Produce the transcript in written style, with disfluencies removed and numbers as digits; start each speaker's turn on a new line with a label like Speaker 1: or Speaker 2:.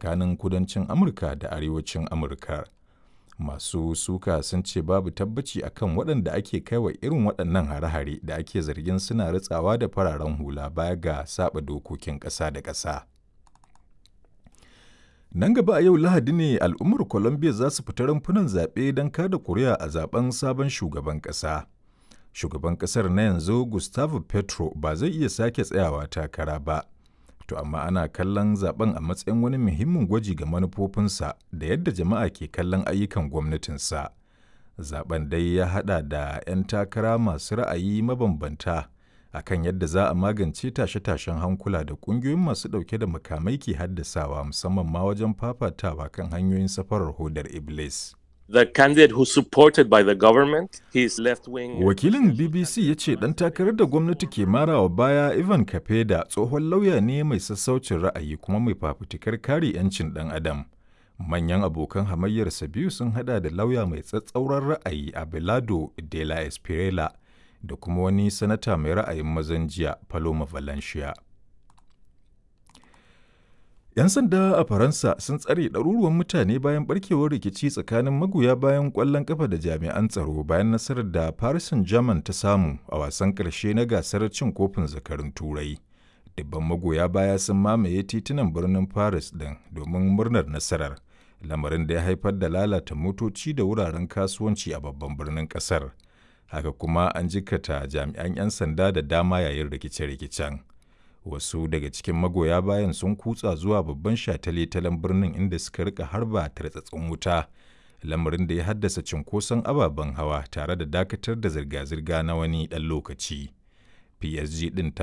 Speaker 1: tsakanin kudancin Amurka da arewacin Amurka. Masu suka sun ce babu tabbaci akan waɗanda ake kaiwa irin waɗannan hare-hare da ake zargin suna ritsawa da fararen hula baya ga saba dokokin ƙasa da ƙasa. Nan gaba a yau Lahadi ne al'ummar Colombia za su fita rumfunan zaɓe don kada kuri'a a zaben sabon shugaban ƙasa. Shugaban ƙasar na yanzu Gustavo Petro ba zai iya sake tsayawa takara ba. To amma ana kallon zaben a matsayin wani muhimmin gwaji ga manufofinsa da yadda jama'a ke kallon ayyukan gwamnatinsa. Zaben dai ya haɗa da 'yan takara masu ra'ayi mabambanta akan yadda za a magance tashe-tashen hankula da ƙungiyoyin masu ɗauke da makamai ke haddasawa musamman ma wajen fafatawa kan hanyoyin safarar hodar Iblis.
Speaker 2: The candidate who's supported by the government, his left wing.
Speaker 1: Wakilin BBC ya ce ɗan takarar da gwamnati ke marawa baya Ivan Kapeda tsohon lauya ne mai sassaucin ra'ayi kuma mai fafutukar kare 'yancin ɗan adam. Manyan abokan hamayyarsa biyu sun hada da lauya mai tsatsauran ra'ayi Abelardo de la Espriella da kuma wani sanata mai ra'ayin mazan jiya Paloma Valencia. 'Yan sanda a Faransa sun tsare ɗaruruwan mutane bayan barkewar rikici tsakanin magoya bayan ƙwallon ƙafa da jami'an tsaro bayan nasarar da Paris Saint-Germain ta samu a wasan ƙarshe na gasar cin kofin zakarun Turai. Dubban magoya baya sun mamaye titunan birnin Paris ɗin domin murnar nasarar, lamarin da ya haifar da lalata motoci da wuraren kasuwanci a babban birnin ƙasar. Haka kuma an jikkata jami'an 'yan sanda da dama yayin rikice-rikicen. Wasu daga cikin magoya bayan sun kutsa zuwa babban shataletalen birnin inda suka rika harba tartsatsin wuta, lamarin da ya haddasa cunkoson ababen hawa tare da dakatar da zirga-zirga na wani ɗan lokaci. PSG ɗin ta